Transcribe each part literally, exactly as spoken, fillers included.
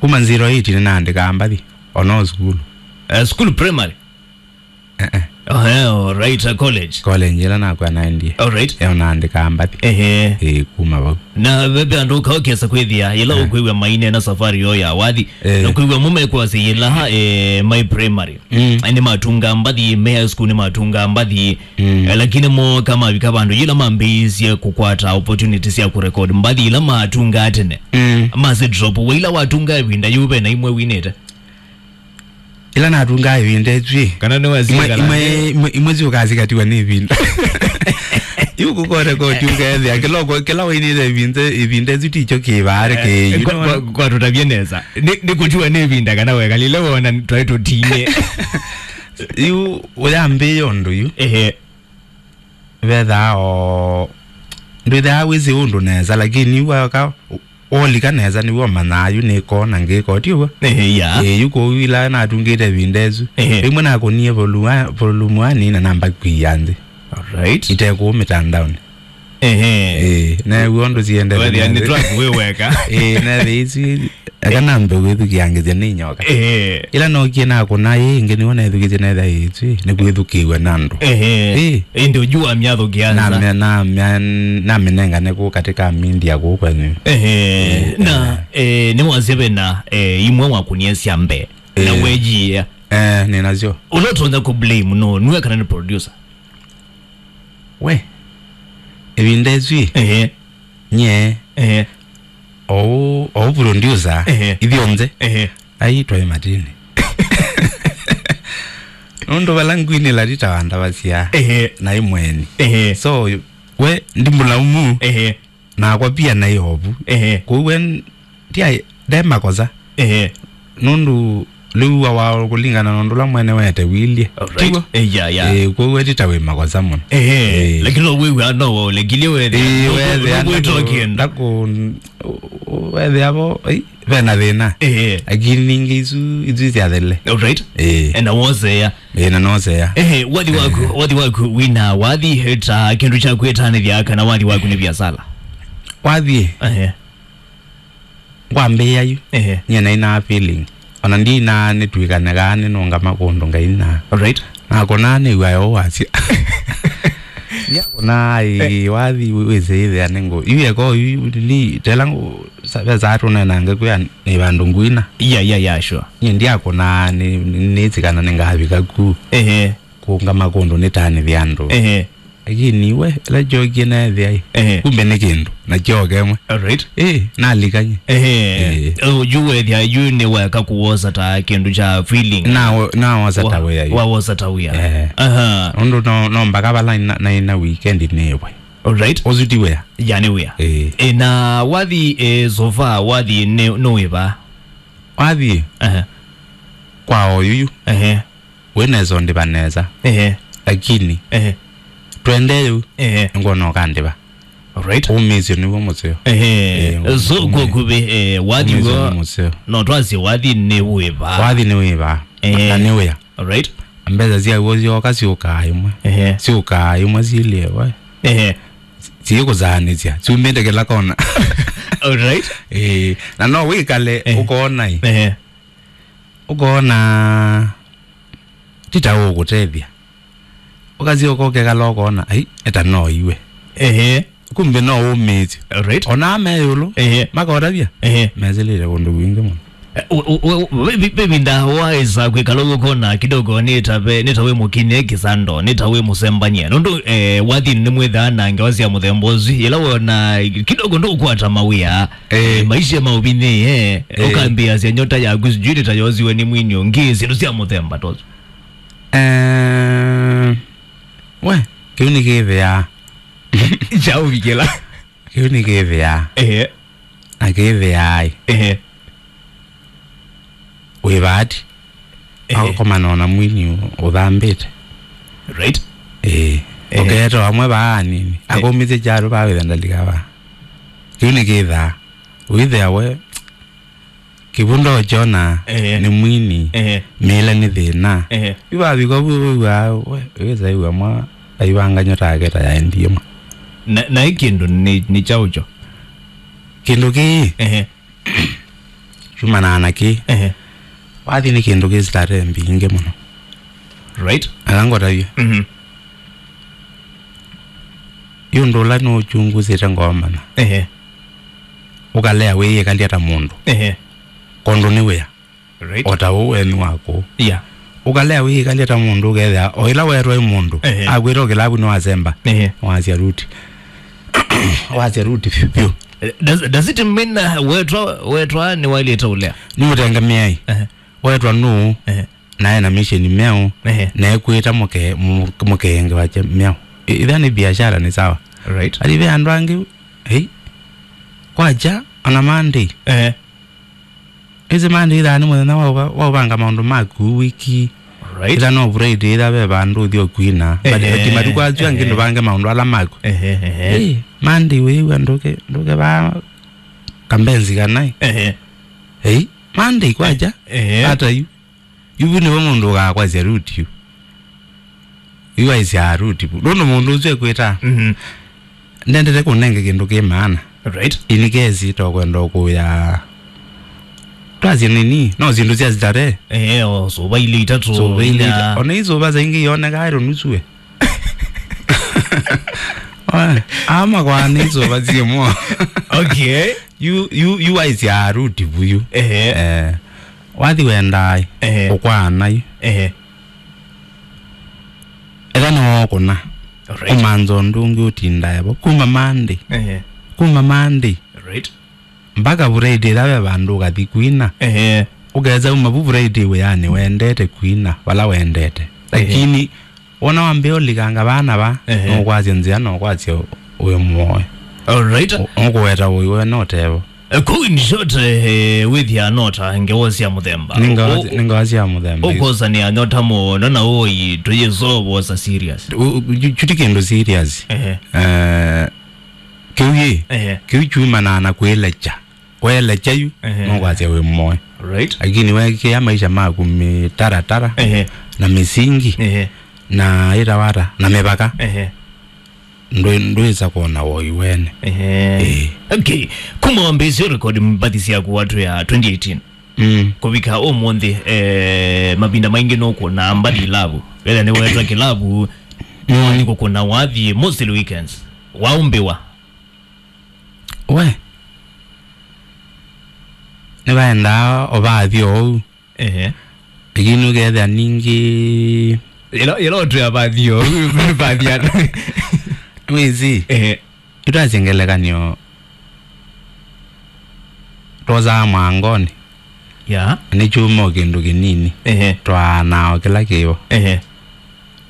Kuma zero eight nĩnaandĩkaa mbathi, ona o sukulu. Eh, school primary? Eh, eh. Oh, eh, all right, uh, college. College ĩla nakw'a naendie. All right. Eh, naandĩkaa mbathi. Ehe. Eh, kuma vau. Na ve, ve andũ ũkaokesa kwĩthĩa, yĩla Eh. ũkwĩw'a maineena safari yo ya wathi, Eh. na kwĩw'a mo mekwasya yĩla, eh, mai primary. Mm. Nĩ matunga mbathi, me high school nĩ matunga mbathi. Mm. Eh, lakini moka mavika vandũ yĩla mambĩĩisye kũkwata opportunity sya kũrecord mbathi ila matunga tene. Mm. Mase drop, we ila watunga ĩvinda yĩu ve na imwe winĩte? Ila natunga ĩvinda ĩsu ĩ. Kana nĩ wasie Imwe, kana imwe, imwe, imwe syũkasikatiwa nĩ ĩvinda. Yu kũkore koti ũkethĩa kĩla ũko-, kĩla wainĩte ĩvinda, ĩvinda ĩsu tikyo kĩvaare Eh, kĩ, you kwa, know. kwa, kwa tũtavye nesa. Nĩ, nĩ kũtiwa nĩ ĩvinda kana wekalile wona twaĩ tũtinĩ. Yu ũyambĩĩa ũndũ yu. Ehe. Vethaa o ndwĩthaa wĩsĩ ũndũ nesa, lakini yu waka wolika nesa nĩw'o ũmanyaa yu nĩkona ngĩko, ti ũw'o? Ehe, ya. Ĩĩ, yu kũu ila natungĩte ĩvinda ĩsu. Ehe. Ĩmwe nakũnie volume wa-, volume one na namba kwia nthĩ. Alright. Itekũũ mĩtandaonĩ. Ehe. Ĩĩ, na w'o ũndũ siendete Wethĩa nĩ nesa. Track wĩ weka. Ĩĩ, na thĩ isu eka nambe kwĩthukĩangĩthya nĩ nyoka. Ehe. Ila nokie nakũna ĩĩ ĩngĩ nĩw'o nethukĩtye netha ĩĩtu ĩ, nĩ kwĩthukĩĩw'a na andũ. Ehe. Ĩĩ. Ĩndĩ ũju wamyathũkĩanza. Namya-, namya-, namĩnengane kũu katĩ ka mindia kũu kwenyu. Ehe. Ĩĩ, Na, eh, nĩwasya vena, eh, imwe wakunie sya mbee. Na Ĩĩ. Wejiĩa. Eh, nĩnasyo. Ũla ũtonya kũ blame no, nue kana nĩ producer? We, ĩvinda ĩsu ĩ, Ehe. Nye, Ehe. Ou, ou producer, Ehe. Ithyonthe, Ehe. Ai, twaĩ matini. Nũndũ vala ngwinĩla nditawandavasya, Ehe. Naĩ mweni. Ehe. So, we, ndimũlaumu, Ehe. Nakwa pia naĩ ovu. Ehe. Kwoou we, n-, ndia, nde makosa. Ehe. Nũndũ lĩu wa, wa kũlingana na ũndũ ũla mwene wete wilyĩ. Alright. Tiw'o? Eh, ya, ya. Eh, kwoou eti ta wĩ makosa mũno. Ehe. Eh. Lakini no wĩw'a no waũlekilyĩ wethĩa. Eh, no wethĩa kwĩtwa ndaku-, kĩndũ. Ndaku-, wethĩa vo, ei, vena thĩna. Ehe. Lakini ningĩ isu, isu isyathele. Alright. Eh. Eh, na woseya. Eh, na noseya. Ehe, wathi waku, eh, wathi waku wina wathi ta kĩndũ kya kwĩtanĩthya kana wathi waku nĩ biasala? Wathi. Ehe. Ngwambĩĩa yu, Ehe. Nyie naĩ na feeling. Ona ndina nĩtwĩkane kaa nĩnũngama kũndũ Ngai na. Alright. Nakũnaa nĩw'a yo wasya. Ndiakũnaa ĩ, Eh. Wathi wĩsĩ ĩthĩa nĩ ngũ. Yu eko yu, ni, tela ngũ, sa-, ve saa tũnenange kwĩa nĩ vandũ ngwina. Yeah, yeah, yeah, sure. Nyie ndiakũnaa nĩ, nĩ, nĩsĩ kana nĩngavika ku. Ehe. Kũngama kũndũ nĩtanĩthya andũ. Ehe. Lakini we, ĩla kyokie neethĩa ĩ, Ehe. Kumbe nĩ kĩndũ, na kyoka ĩmwe. Alright. Ĩ, nalikany'e. Ehe. Ĩ. Ũ, yu wethĩa, yu nĩ weka kũwosa ta kĩndũ kya feeling. Na wo-, nawosa ta Wa-, wĩa yu. Wawosa ta wĩa. Ehe. Aha. Ũndũ no, no mpaka vala na, naĩ na weekend nĩwe. Alright. Ũsu ti wĩa. Ya nĩ wĩa. Ĩ. Ĩ, na wathi, ĩ, so far, wathi nĩ, nĩ wĩva? Wathi. Ehe. Kwa oyu yu. Ehe. Wĩ nesa ũndĩva nesa. Ehe. Lakini, Ehe. Twende yu, Ehe. Ngwona ũkandĩva. Alright. Ũmĩsyo nĩw'o mũseo. Ehe. Eh, So, ũmĩ-, kwa kuvĩ, eh, wathi ũmĩsyo w'o, nĩ mũseo. No twasye wathi nĩ wĩva. Wathi nĩ wĩva. Ehe. Na nĩ wĩa. Alright. Mbesa syaw'o syoka syũkaa ĩmwe. Ehe. Syũkaa ĩmwe syĩlĩe we. Ehe. Syĩkũsaanĩsya. Syumĩte kĩla kona. Alright. Eh, na no wĩkale Ehe. Ũkoona ĩ. Ehe. Ũkoona ti ta ũkũtethya. Ũkasyoka ũkekala ũkoona, ai, eta no iwe. Ehe. Kumbe no ũmĩĩsyo. Right. Ona me ĩũlũ, Ehe. Makotavya, Ehe. Mesĩlĩte kũndũ kwingĩ mũno. Eh, u-, u-, u-, u-, vi-, vi-, vivinda waĩsa kwĩkala ũkona kidogo nĩ ta ve-, nĩ ta wĩ mũkinie kĩsando, nĩ ta wĩ mũsembanie. Nũndũ, eh, wathi nĩ mwĩthaa na ngewa sya mũthemba ũsu, yĩla wona kidogo ndũkwata mawĩa. Eh. Eh, maisha maũvinyĩe, eh, Eh. Ũkambĩasya nyota yaku sijui nĩ ta yosiwe nĩ mwini ũngĩ, syĩndũ sya mũthemba ta ũsu. Eh, we, kĩu nĩ kĩthĩaa. Kyaũvikĩla. Kĩu nĩ kĩthĩaa. Ehe. Na kĩthĩaa ĩ. Ehe. Wĩ vaati. Ehe. Akomana na mwini ũ-, ũthambĩte. Right. Ĩĩ. Ehe. Ũkeeta amwe vaa nini. Eh. Akomĩsye kyalo vaa wĩtha ndalika vaa. Kĩu nĩ kĩthaa. Wĩthĩa we, kĩvunda ũkyona Ehe. Nĩ mwini, Ehe. Mĩĩle nĩ thĩna. Ehe. Yu vavika vu wĩw'aa, we, wĩsa ĩw'a mwa, aivangany'a take ta yaendie mwa. Na, na ĩ kĩndũ nĩ, nĩ kyaũ kyo? Kĩndũ kĩĩ, Ehe. Yumanaa na kĩ? Ehe. Wathi nĩ kĩndũ kĩ starehe mbingĩ mũno. Right. Aka ngũtavye. Mhm. Yu ũndũ ũla nũũchungusĩte ngomana. Ehe. Ũkalea wĩyĩkalya ta mũndũ. Ehe. Kondũ nĩ wĩa. Right. O ta ũu eni waku. Yeah. Ũkalea wĩyĩkalya ta mũndũ ũkethĩa o ĩla wetwa ĩ mũndũ. Ehe. Akwĩta o kĩlavu nĩwasemba. Ehe. Wasya ruti. Wasya ruti vyũ vyũ. Eh, does, does it mean, uh, wetwa, wetwa nĩwailĩte ũlea? Nĩ ũtengemeai. Ehe. Wetwa nũũ? Ehe. Na ena mission mĩao. Ehe. Na ekwĩta mũke-, mũ-, mũkenge wake mĩao. I-, itha nĩ biashara nĩ sawa. Right. Athi ve andũ angĩ, hey, kwacha, ona Monday. Ehe. Ĩsĩ Monday ithaa nĩ mũthenya wa ũva-, wa ũvanga maũndũ maku wiki. Right. Itha no Friday itha ve vandũ ũthi ũkwina. But, ehe, ati matukũ asu angĩ, ehe, ndũvange maũndũ ala maku. Ehe, ehe. Hey, Monday wĩw'a ndũke, ndũke va kambenzi kanai. Ehe. Hey, Monday kwacha. Ehe. Hata yu. Yu vu nĩvo mũndũ ũkakwasya ruti yu. Yu aisyaa ruti vu. Nũndũ mũndũ ũsu ekwĩta. Mhm. Ndendete kũnenge kĩndũ kĩ maana. Right. Ini kesi tokwenda ũkũya. Twasye nini? No syĩndũ sya starehe. Eh, o, suva ilĩ itatũ, suva ilĩ inya. Ita-, ona isuva saingĩ ioneka ero nusue. Oe, ama kwa nĩ isuva syĩmwe. Okay. Yu, yu, yu aisyaa ruti vu yu. Ehe. Eh, wathi wendaa, ehe, ũkwaana yu. Ehe. Ethwa nĩwookũna. Alright. Kũmantha ũndũ ũngĩ ũtindae vo. Kuma Monday. Ehe. Kuma Monday. Right. Mpaka Friday ĩla ve vandũ ũkathi kwina. Ehe. Ũkesa uma vu Friday wĩanĩ wendete kwina, vala wendete. Ehe. Lakini wona wambĩa ũlikanga vana va, ehe, nũkwasya nzĩa, nũkwasya wĩ mũoe. Alright. Ũ-, ũkũweta ũiwe no tevo. Eh, kũu in short, eh, wĩthĩa nota ngewa sya mũthemba. Nĩ ngawa, ũ-, nĩ ngawa sya mũthemba. Ũkosanĩa nyota mũno na ũi tũyĩsovosa serious. U-, u-, chu-, chuti kĩndũ serious. Ehe. Eh, kĩu yĩ, ehe, kĩu chumanaa na kwĩlekya. Kwelekya yu, ehe, no kwasya wĩ mũoe. Right. Lakini wekĩa maisha maku mĩtaratara, ehe, na mĩsingi, ehe, na ĩtawata, na mĩvaka. Ehe. Ndwĩ-, ndwĩsa kwona woi wene. Ehe. Ĩĩ. Okay. Kuma wambĩĩsye record mbathi syaku watu ya twenty eighteen. Mm. Kũvika ũmũnthĩ, eh, mavinda maingĩ nũkũna mbathi ilavu. Whether nĩ wetwa kĩlavu, mm, nĩ kũkũna wathi mostly weekends. Waũmbĩwa. We. Nĩvaendaa o vathi oou. Ehe. Lakini ũkethĩa ningĩ. Yelo, yelo tu ya bathi yo, bathi ya. Wĩsĩ. Ehe. Ĩtwasye ngelekany'o. Twosaa mwangoni. Ya. Nĩ kyuma o kĩndũ kĩnini. Ehe. Twaanaa o kĩla kĩvo. Ehe.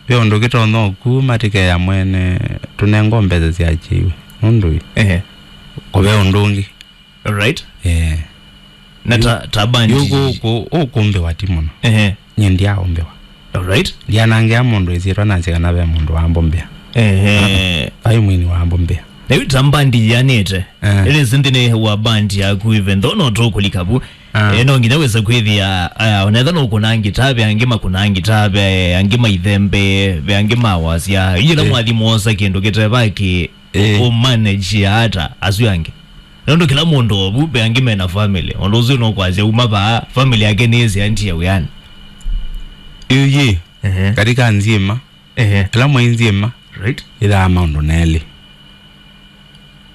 Ve ũndũ kĩtonya ũkuma tĩkeya mwene tũnengwa mbesa syakyĩiwe. Nũndũ ĩ. Ehe. Kũve ũndũ ũngĩ. Alright. Eh. Na ta, ta bandi. Yu kũ-, kũ-, ũkũmbĩwa ti mũno. Ehe. Nye ndiaũmbĩwa. Alright. Ndianangĩa mũndũ ĩsyĩtwa nasye kana ve mũndũ wambũmbĩa. Ehe. Ah, ah. Vai mwini wambũmbĩa. Na yu ta bandi yanĩte. Eh. Ĩlĩ nthĩnĩ wa bandi yaku even though no tũkũlika vu. Ah. Eh, no nginya wĩse kwĩthĩa, ah, onetha no kũna ngita, ve angĩ makũna ngita, ve angĩ maithembe, ve angĩ mawasya. Yĩla, eh, mwathi mwosa kĩndũ kĩteva kĩ, eh, ũmanage ata asu angĩ. Nũndũ kĩla mũndũ ovu, ve angĩ mena family. Ũndũ ũsu nũkwasya uma vaa, family yake nĩĩsĩ antia wĩanĩ. Ĩĩ, ehe, katika nzima, ehe, kĩla mwai nzima, right, ĩthaa maũndũ nelĩ.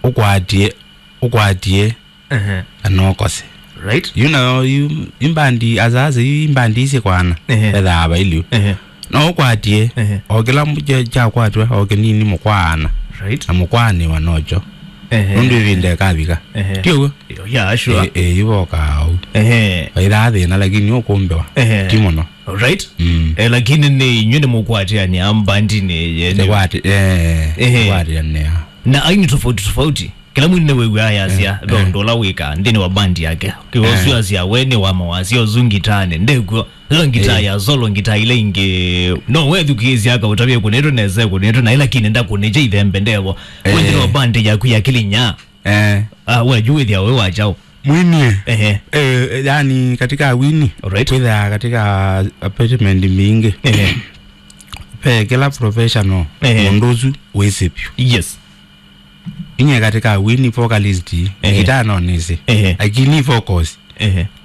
Ũkwatie, ũkwatie, ehe, kana ũkose. Right. Yu nayo, yu, imbandi, asasa, yu imbandi isi kwana, ehe, ethaa vailyu. Ehe. No ũkwatie, ehe, o kĩla mu-, kya-, kyakwatwa, o kĩnini mũkwaana. Right. Na mũkwaanĩwa nokyo. Ehe. Nũndũ ĩvinda ĩkavika. Ehe. Ti ũguo? Yeah, sure. Eh, eh, yu vokaa ũu. Ehe. Vaithaa thĩna, lakini ũkũmbĩwa. Ehe. Ti mũno. Right? Mm. Eh, lakini nĩ inyuĩ nĩ mũkwatĩanĩa mbandinĩ yenyu. Tũkwati-, eh, ehe, tũkwatĩanĩa. Na aini tofauti tofauti. Kĩla mwini nĩwĩw'aa yasya, eh, ve, eh, ũndũ ũla wĩkaa nthĩnĩ wa bandi yake. Kĩwosyo, eh, asya we nĩ wa mawasya ũsu ngitanĩ, ndekw'o. Ĩla ngitaa, eh, ya solo, ngitaa ila ingĩ, no wethukĩĩsya akaũtavya ĩkũnĩtwe nesa, ĩkũnĩtwe na ĩla kĩnĩ ndakũnĩkya ithembe ndevo. Eh. Kwĩ nthĩnĩ wa bandi yaku ya Kĩlĩnya. Eh. Ah, we yu wĩthĩa wĩ wa kyaũ? Mwini. Ehe. Eh, yani katika wini. Alright. Kwĩthaa katika apartment mingi. Ehe. Pe kila professional, ehe, mũndũ ũsu wĩsĩ vyũ. Yes. Inye katika wini vocalist, ehe, gitaa no nĩsĩ. Ehe. Lakini vocals, ehe,